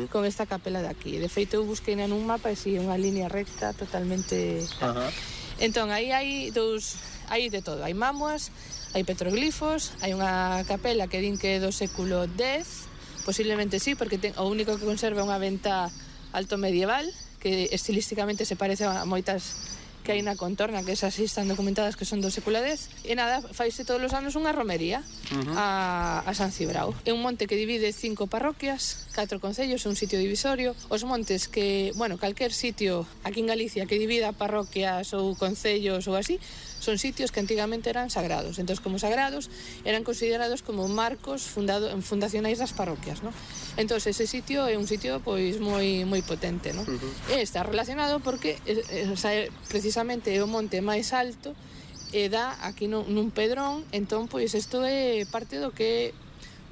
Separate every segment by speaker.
Speaker 1: con esta capela de aquí. De feito, eu busquei nun mapa e si unha línea recta totalmente... Entón, aí hai de todo. Hai mámoas, hai petroglifos, hai unha capela que din que é do século X, posiblemente sí, porque o único que conserva é unha venta alto medieval, que estilísticamente se parece a moitas que hai na contorna, que esas sí están documentadas que son do século X, e nada, faise todos os anos unha romería a San Cibrao. É un monte que divide 5 parroquias, 4 concellos, é un sitio divisorio. Os montes que, bueno, calquer sitio aquí en Galicia que divida parroquias ou concellos ou así, son sitios que antigamente eran sagrados. Entón, como sagrados, eran considerados como marcos fundacionais das parroquias, ¿no? Entón, ese sitio é un sitio pois moi potente, ¿no? E está relacionado porque precisamente é o monte máis alto e dá aquí nun pedrón. Entón, pois, isto é parte do que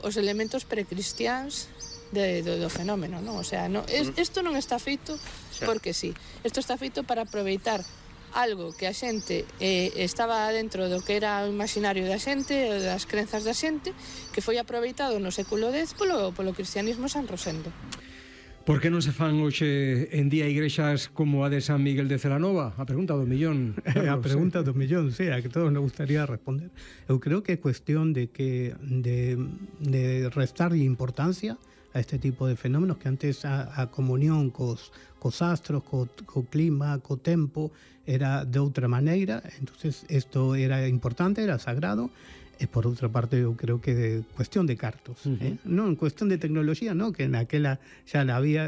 Speaker 1: os elementos precristiáns do fenómeno, non? O sea, isto non está feito porque sí. Isto está feito para aproveitar algo que a xente estaba dentro do que era o imaginario da xente, das crenzas da xente, que foi aproveitado no século X polo cristianismo San Rosendo.
Speaker 2: Por que non se fan hoxe en día igrexas como a de San Miguel de Celanova? A pregunta do millón.
Speaker 3: A pregunta do millón, sí, a que todos nos gustaría responder. Eu creo que é cuestión de restarlle importancia a este tipo de fenómenos, que antes a comunión cos astros, co clima, co tempo, era de outra maneira. Entonces isto era importante, era sagrado. E por outra parte, eu creo que é cuestión de cartos, non cuestión de tecnoloxía, non, que naquela xa la había,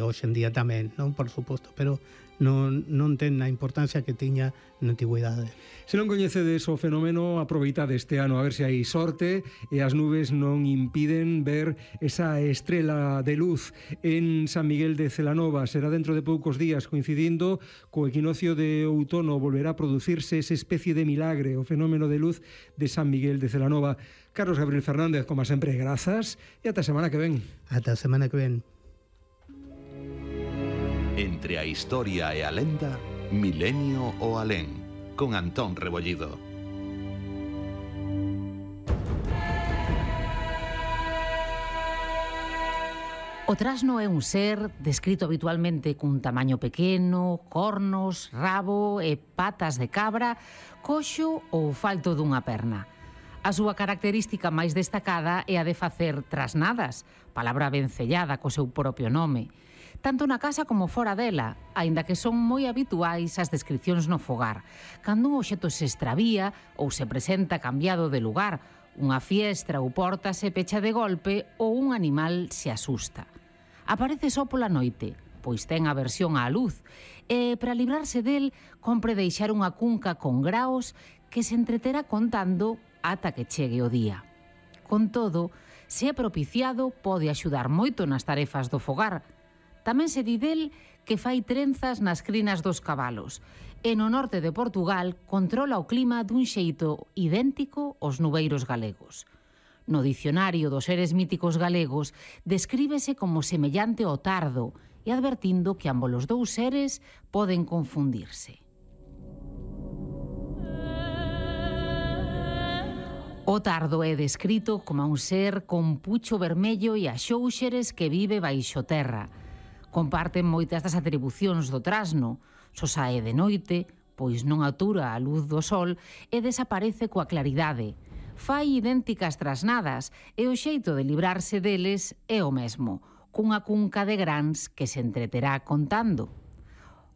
Speaker 3: hoxe en día tamén, non, por suposto, pero non ten a importancia que tiña na antigüidade.
Speaker 2: Se non coñecedes o fenómeno, aproveitade este ano a ver se hai sorte e as nubes non impiden ver esa estrela de luz en San Miguel de Celanova. Será dentro de poucos días, coincidindo co equinoccio de outono, volverá a producirse esa especie de milagre, o fenómeno de luz de San Miguel de Celanova. Carlos Gabriel Fernández, como sempre, grazas e ata a semana que ven.
Speaker 3: Ata a semana que ven.
Speaker 4: Entre a historia e a lenda, Milenio o Alén, con Antón Rebollido.
Speaker 5: O trasno é un ser descrito habitualmente cun tamaño pequeno, cornos, rabo e patas de cabra, coxo ou falto dunha perna. A súa característica máis destacada é a de facer trasnadas, palabra vencellada co seu propio nome, tanto na casa como fora dela, aínda que son moi habituais as descripcións no fogar, cando un obxecto se extravía ou se presenta cambiado de lugar, unha fiestra ou porta se pecha de golpe ou un animal se asusta. Aparece só pola noite, pois ten aversión á luz, e para librarse del, compre deixar unha cunca con graos que se entreterá contando ata que chegue o día. Con todo, se é propiciado, pode axudar moito nas tarefas do fogar. Tamén se di del que fai trenzas nas crinas dos cabalos e no norte de Portugal controla o clima dun xeito idéntico aos nubeiros galegos. No dicionario dos seres míticos galegos descríbese como semellante ao tardo e advertindo que ambos os dous seres poden confundirse. O tardo é descrito como un ser con pucho vermello e axóuxeres que vive baixo terra. Comparten moitas das atribucións do trasno, só sae de noite, pois non atura a luz do sol e desaparece coa claridade. Fai idénticas trasnadas e o xeito de librarse deles é o mesmo, cunha cunca de grans que se entreterá contando.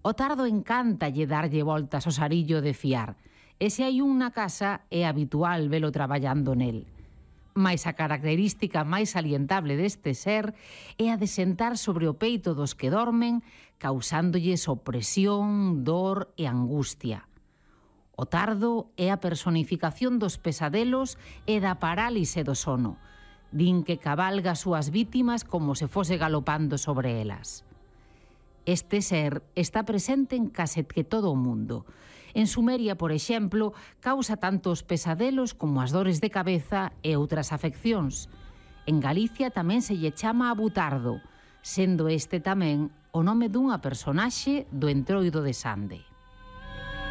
Speaker 5: O tardo encántalle darlle voltas ao sarillo de fiar, e se hai un na casa é habitual velo traballando nel. Mais a característica máis salientable deste ser é a de sentar sobre o peito dos que dormen, causándolles opresión, dor e angustia. O tardo é a personificación dos pesadelos e da parálise do sono. Din que cabalga as súas vítimas como se fose galopando sobre elas. Este ser está presente en case que todo o mundo. En Sumeria, por exemplo, causa tanto os pesadelos como as dores de cabeza e outras afeccións. En Galicia tamén se lle chama abutardo, sendo este tamén o nome dunha personaxe do Entroido de Sande.